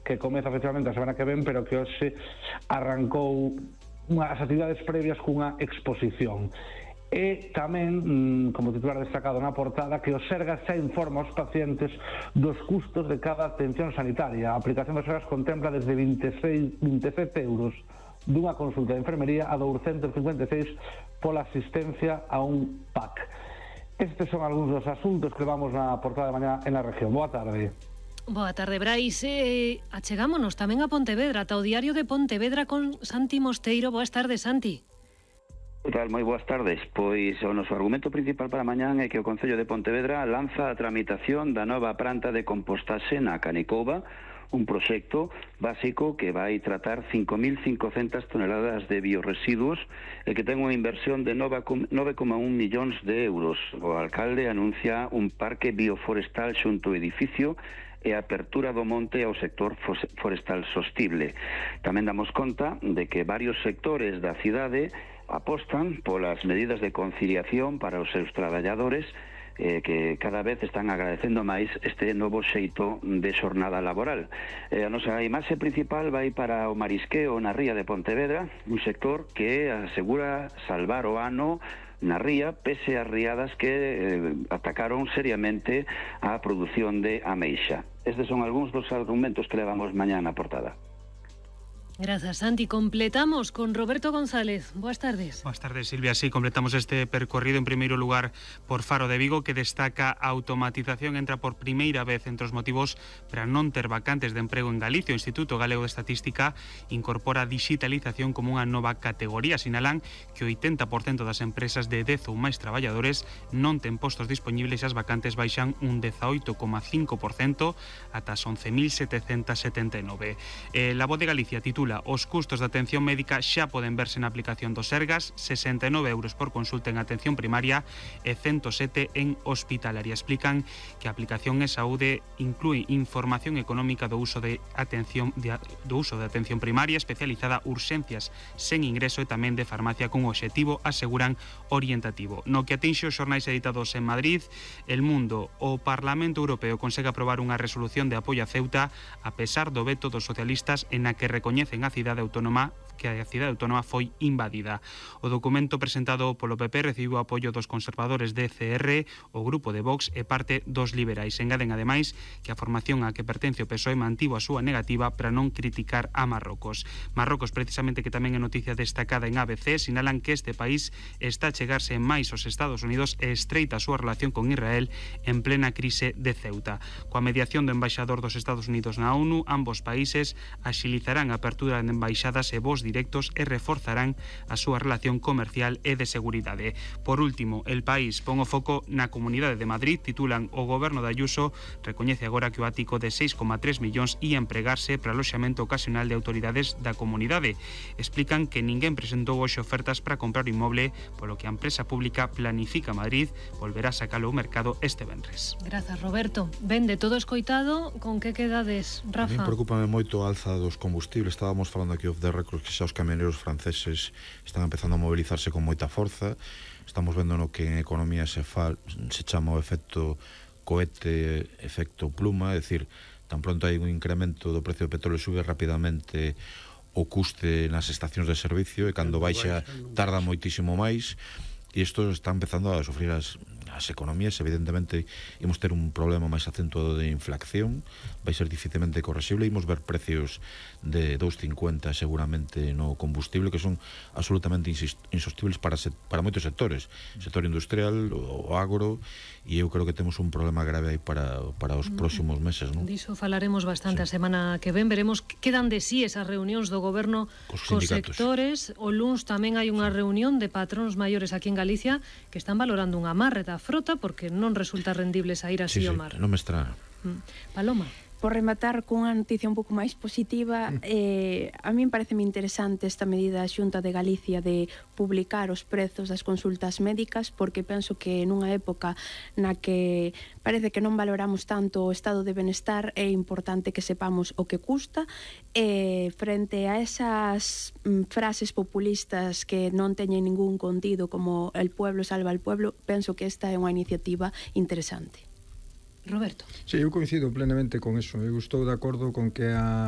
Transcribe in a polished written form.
que comeza efectivamente a semana que ven, pero que hoxe arrancou as actividades previas cunha exposición. E tamén, como titular destacado na portada, que o Sergas xa informa aos pacientes dos custos de cada atención sanitaria. A aplicación do Sergas contempla desde 27 euros dunha consulta de enfermería a 256 pola asistencia a un PAC. Estes son algúns dos asuntos que vamos na portada de mañá en a región. Boa tarde. Boa tarde, Brais. Achegámonos tamén a Pontevedra, ata o diario de Pontevedra con Santi Mosteiro. Boas tardes, Santi. Moi boas tardes. Pois o noso argumento principal para mañán é que o Concello de Pontevedra lanza a tramitación da nova planta de compostaxe na Canicouva, un proxecto básico que vai tratar 5.500 toneladas de bioresiduos e que ten unha inversión de 9,1 millóns de euros. O alcalde anuncia un parque bioforestal xunto ao edificio e a apertura do monte ao sector forestal sostible. Tamén damos conta de que varios sectores da cidade apostan polas medidas de conciliación para os seus traballadores que cada vez están agradecendo máis este novo xeito de xornada laboral. A nosa imaxe principal vai para o marisqueo na ría de Pontevedra, un sector que asegura salvar o ano na ría, pese as riadas que atacaron seriamente a produción de ameixa. Estes son algúns dos argumentos que levamos mañá na portada. Grazas, Santi. Completamos con Roberto González. Boas tardes. Boas tardes, Silvia. Sí, completamos este percorrido en primeiro lugar por Faro de Vigo, que destaca a automatización. Entra por primeira vez entre os motivos para non ter vacantes de emprego en Galicia. O Instituto Galego de Estatística incorpora a digitalización como unha nova categoría. Sinalan que o 80% das empresas de 10 ou máis traballadores non ten postos disponibles e as vacantes baixan un 18,5% ata as 11.779. La Voz de Galicia titula: os custos de atención médica xa poden verse na aplicación do Sergas, 69 euros por consulta en atención primaria e 107 en hospitalaria. Explican que a aplicación en saúde inclúe información económica do uso de atención primaria especializada, urxencias sen ingreso e tamén de farmacia con obxectivo, aseguran, orientativo. No que atinxe os xornais editados en Madrid, El Mundo, o Parlamento Europeo consegue aprobar unha resolución de apoio a Ceuta a pesar do veto dos socialistas en a que recoñece a cidade autónoma foi invadida. O documento presentado polo PP recibiu o apoio dos conservadores de ECR, o grupo de Vox e parte dos liberais. Engaden ademais que a formación a que pertence o PSOE mantivo a súa negativa para non criticar a Marrocos. Marrocos, precisamente, que tamén é noticia destacada en ABC, sinalan que este país está a chegarse máis aos Estados Unidos e estreita a súa relación con Israel en plena crise de Ceuta. Coa mediación do embaixador dos Estados Unidos na ONU, ambos países axilizarán a apertura de embaixadas e voos directos e reforzarán a súa relación comercial e de seguridade. Por último, El País pon o foco na Comunidade de Madrid. Titulan: o goberno de Ayuso recoñece agora que o ático de 6,3 millóns ia empregarse para aloxamento ocasional de autoridades da comunidade. Explican que ninguén presentou hoxe ofertas para comprar o inmoble, polo que a empresa pública Planifica Madrid volverá a sacalo ao mercado este venres. Grazas, Roberto. Ben, de todo escoitado, con que quedades, Rafa? A mí preocúpame moito a alza dos combustibles. Estábamos falando aquí off the record que xa os camioneros franceses están empezando a mobilizarse con moita forza. Estamos vendo no que en economía se chama o efecto cohete, efecto pluma, é dicir, tan pronto hai un incremento do precio do petróleo, sube rapidamente o custe nas estacións de servicio e cando baixa tarda moitísimo máis, e isto está empezando a sufrir as economías. Evidentemente imos ter un problema máis acentuado de inflación, vai ser dificilmente correxible, imos ver precios de 2,50 seguramente no combustible que son absolutamente insostibles para moitos sectores, sector industrial, o agro, e eu creo que temos un problema grave aí para os próximos meses, non? Diso falaremos bastante a semana que ven, veremos que dan de sí esas reunións do goberno cos sectores. O luns tamén hai unha reunión de patróns maiores aquí en Galicia que están valorando un amarre da frota porque non resulta rendible sair así ao mar. Non me extraña. Paloma. Por rematar cunha noticia un pouco máis positiva, a min pareceme interesante esta medida da Xunta de Galicia de publicar os prezos das consultas médicas, porque penso que nunha época na que parece que non valoramos tanto o estado de benestar, é importante que sepamos o que custa, e frente a esas frases populistas que non teñen ningún contido como el pueblo salva al pueblo, penso que esta é unha iniciativa interesante. Roberto. Sí, eu coincido plenamente con eso. Eu estou de acordo con que a